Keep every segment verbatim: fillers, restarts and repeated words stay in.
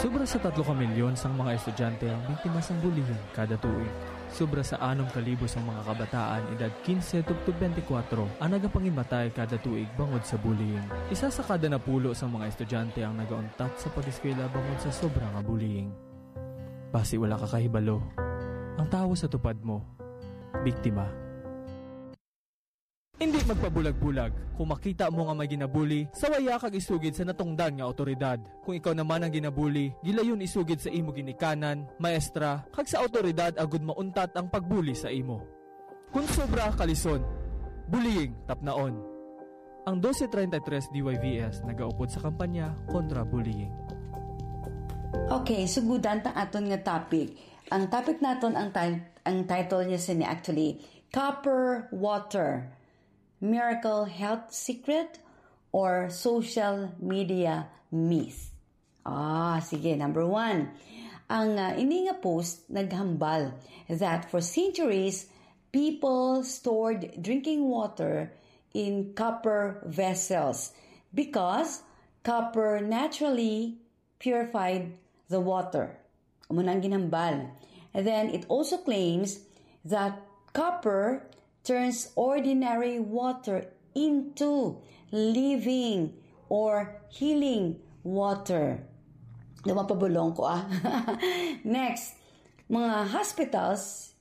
Sobra sa tatlo ka milyon sang mga estudyante ang biktima sang bullying kada tuig. Sobra sa anom ka libo sang mga kabataan edad kinse tubtob bente kwatro ang nagapangimatay kada tuig bangod sa bullying. Isa sa kada napulo sang mga estudyante ang nagauntat sa pag-eskwela bangod sa sobra nga bullying. Basi wala ka kahibalo, ang tawo sa tupad mo, biktima. Indi magpabulag-bulag. Kung makita mo nga may ginabuli, sawaya kag isugid sa natungdan nga awtoridad. Kung ikaw naman ang ginabuli, gilayon isugid sa imo ginikanan, maestra, kag sa awtoridad agud mauntat ang pagbuli sa imo. Kon sobra, kalison. Bullying, tapnaon. Ang twelve thirty-three D Y V S nagaupod sa kampanya kontra bullying. Okay, sugudan ta aton nga topic. Ang topic naton, ang ti-, ang title niya sini actually, Copper Water, Miracle Health Secret or Social Media Myth? Ah, sige, number one. Ang, ah, ini nga post naghambal that for centuries, people stored drinking water in copper vessels because copper naturally purified the water. Amo na ang ginhambal. And then it also claims that copper turns ordinary water into living or healing water. Daw mapabulong ko, ah. Next, mga hospitals,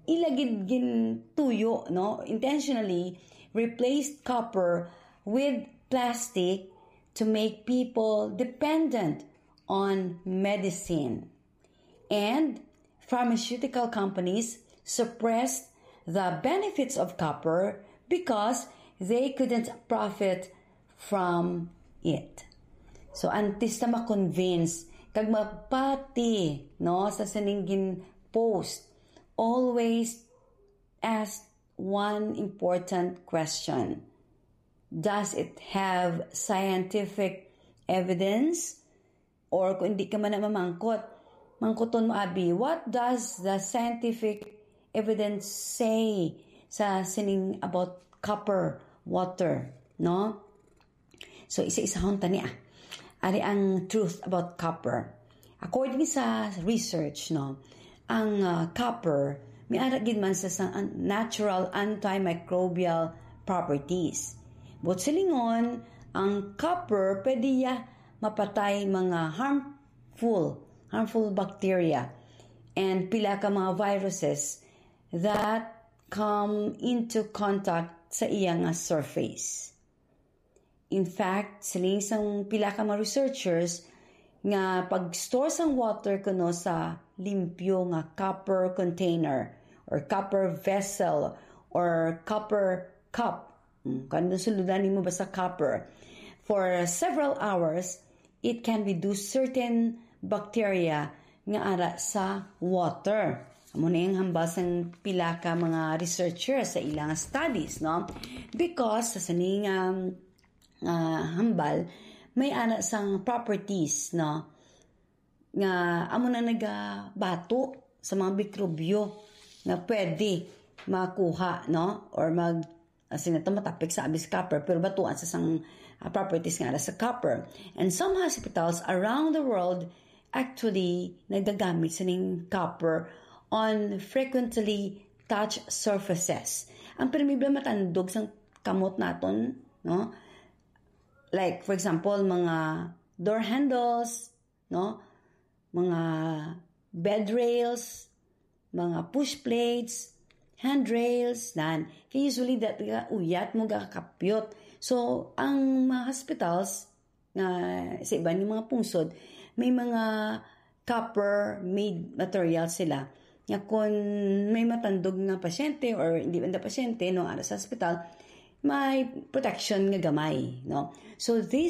ila gid gintuyo, no? Intentionally replaced copper with plastic to make people dependent on medicine. And pharmaceutical companies suppressed the benefits of copper because they couldn't profit from it. So, antes na ma-convince kag mapati, no, sa sining gin-post, always ask one important question. Does it have scientific evidence? Or kung hindi ka man na mamangkot, mangkuton mo, abi, what does the scientific evidence say sa sining about copper water, no? So, isa-isahon ta ni, ah. Ari ang truth about copper. According sa research, no, ang, ah, copper may ara gid man sa, sa an-, natural antimicrobial properties. But silingon, ang copper pwede ya mapatay mga harmful, harmful bacteria and pila ka mga viruses that come into contact sa iya nga surface. In fact, siling sang pila ka mga researchers nga pag-store sang water kuno sa limpyo nga copper container or copper vessel or copper cup. Hmm, kung ano suludan nimo basta copper. For several hours, it can reduce certain bacteria nga ara sa water. Amo na ang hambal sang pila ka mga researchers sa ilang studies, no? Because sa sining, um, ah, hambal, may ara sang properties, no? Nga amo na nagabato sa mga mikrobyo nga pwede makuha, no? Or mag, ah, sino to, matapik sa abis copper, pero batuan sa sang, ah, properties nga ara sa copper. And some hospitals around the world actually nagagamit sining copper on frequently touched surfaces. Ang pirmi ba matandog sang kamot naton, no? Like, for example, mga door handles, no? Mga bed rails, mga push plates, handrails, nan. Kay usually, that, uyat mo gakapyot. So, ang mga hospitals, nga sa iban nga mga pungsod, may mga copper-made material sila. Nga kung may matandog nga pasyente or hindi man pasyente, no, ara sa hospital, may protection nga gamay, no? So, this